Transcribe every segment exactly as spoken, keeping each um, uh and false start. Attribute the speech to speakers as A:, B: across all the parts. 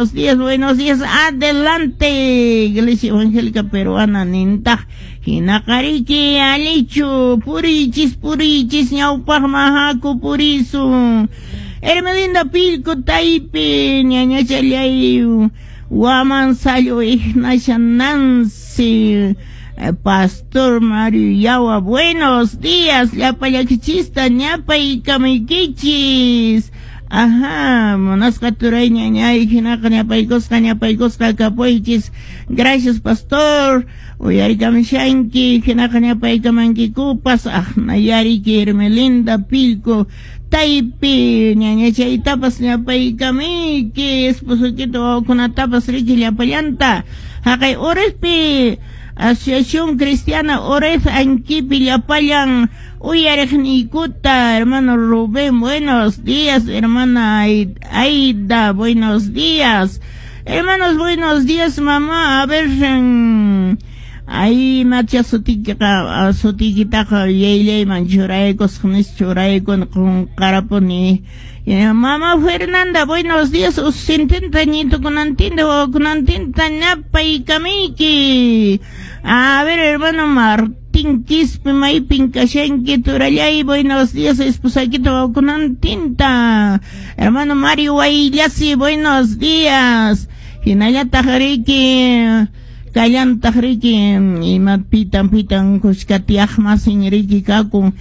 A: Buenos días, buenos días. Adelante, Iglesia Evangélica Peruana nintaq. Hinaqariki alichu purichis purichis ñawpaqman haku purisun. Hermelinda Pilco Taypi ñañachallay Waman Sayo Ignacia Nancy Pastor Mario Yawa, buenos días, llapallakichista ñapaykamaykichis. Ajá, munasqa turay ñañay hinaqa ñapaykusqa ñapaykusqa kapuychis. Gracias, pastor. Uyarikamishanki hinaqa ñapaykamankikupas aqnayariki Hermelinda Pilco Taypi ñañachaytapas ñapaykamiki esposokita wawakunatapas riki llapallanta. Haqay Orespi Asociación Cristiana Oref Ankipi llapallan uyariqniykuta, hermano Rubén, buenos días, hermana Aida, buenos días. Hermanos, buenos días, mamá. A ver, ahí macha sutikiqa sutikitaqa yayllayman churaykusqa nis churaykun qunqarapuni. Mamá Fernanda, buenos días. Usintinta ñitukunantinta wawakunantinta ñapaykamiyki. A ver, hermano Martín Quispe, maypin kashanki turallay, buenos días, esposakita wawakunantinta. Hermano Mario Guayllasi, buenos días. Hinallataq riki kallantaq riki ima pitan pitan kushka tiyaqmasin riki kakun.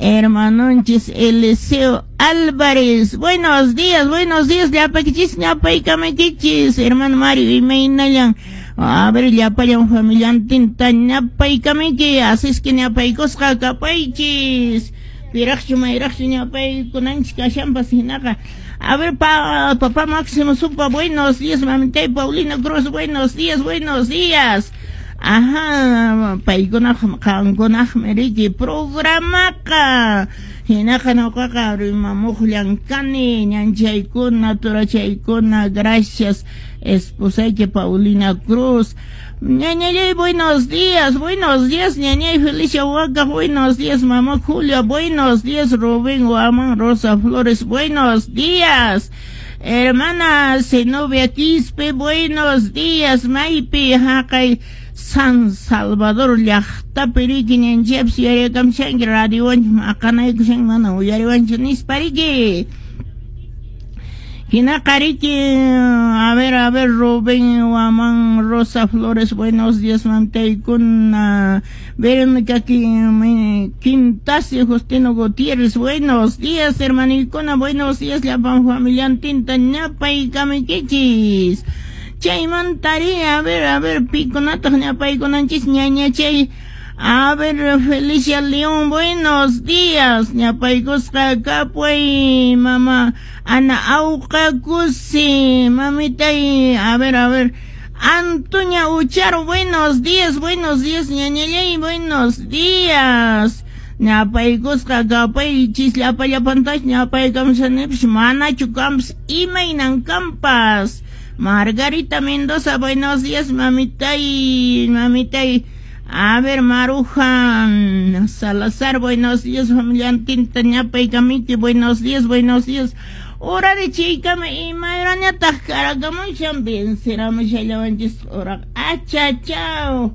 A: Hermanonchis Eliseo Álvarez, buenos días, buenos días, llapakichis, ñapaykamaykichis, hermano Mario, imaynallan, a ver, llapallan familiantinta ñapaykamiki, así es que ñapaykusqa kapaychis, piraqchu mayraqchu ñapaykunanchis kashanpas hinaqa. A ver, pa, papá Máximo Supa, buenos días, mamitay Paulina Cruz, buenos días, buenos días. Ajá, paykunaq qankunaqmi riki programaqa hinaqa ñuqaqa rimamuqllan kani ñanchaykuna turachaykuna, gracias esposayki Paulina Cruz. Ñañallay, buenos días, buenos días, ñañay Felicia Huaca, buenos días, mamá Julia, buenos días, Rubén Guamán, Rosa Flores, buenos días. Hermana Zenobia Quispe, buenos días, maypi haqay San Salvador llaqtapi riki ñanchaypas yuyarikamshanki radiowanchik maqanaykushanki mana uyariwanchik nispa riki. Hinaqa riki, a ver, a ver, Rubén Guamán, Rosa Flores, buenos días, mamtaykuna. Verónica Quintasi, Justino Gutiérrez, buenos días, hermanikuna, buenos días, llapan familiantinta ñapaykamiykichis. Chaymantari, a ver, a ver, pikunataq ñapaykunanchis ñañachay. A ver, Felicia León, buenos días. Ñapaykusqa kapuy, mamá Ana Auqa Kusi, mamitay, a ver, a ver. Antonia Ucharo, buenos días, buenos días, ñañallay, buenos días. Ñapaykusqa kapaychis llapallapantas ñapaykamshanipis manachu kampas imaynan kampas. Margarita Mendoza, buenos días, mamitay, mamitay. A ver, Maruja Salazar, buenos días, familiantinta ñapaykamiki, buenos días, buenos días. Hora de chiykama imayrañataq karakamushan venceramushallawanchis ora achachao.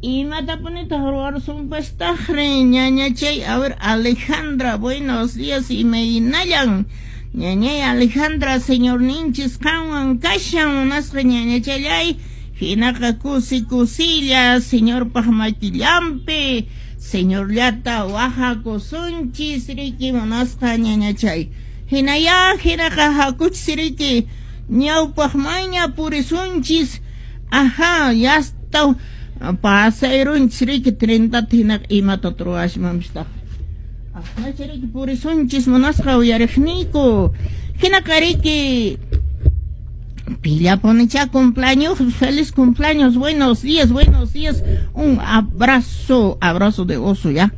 A: Imatapunitaq ruwarusunpastaqri ñañachay. A ver, Alejandra, buenos días, imaynallan. Ñañay Alejandra, señor ninchis qanwan kashan munasqa ñañachallay. Hinaqa kusi kusilla, señorpaq makillanpi, señorllata wahakusunchis riki munasqa ñañachay. Hinaya hinaqa hakuchis riki ñawpaqmanña purisunchis. Ajá, ya está pasayrunchis riki trintata hinaqa imata ruwashmanpistaq. Aqnacha riki purisunchis munasqa uyariqniyku. Hinaqa riki Pillaponicha cumpleaños, feliz cumpleaños, buenos días, buenos días, un abrazo, abrazo de oso ya.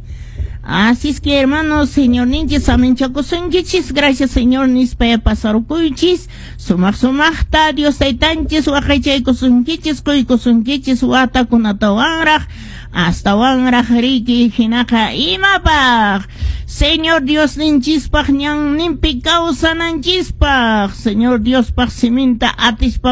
A: Así es que hermanos, señor ninchis, aminchakusunkichis, gracias señor nispaya pasarukuychis, sumaq sumaqta, Dios taytanchis, waqaychaykusunkichis, quykusunkichis, watakunatawanraq, hasta wanraq riki hinaqa imapaq. Señor Dios ninchispaq ñanninpi kawsananchispaq, Señor Diospaq siminta atispa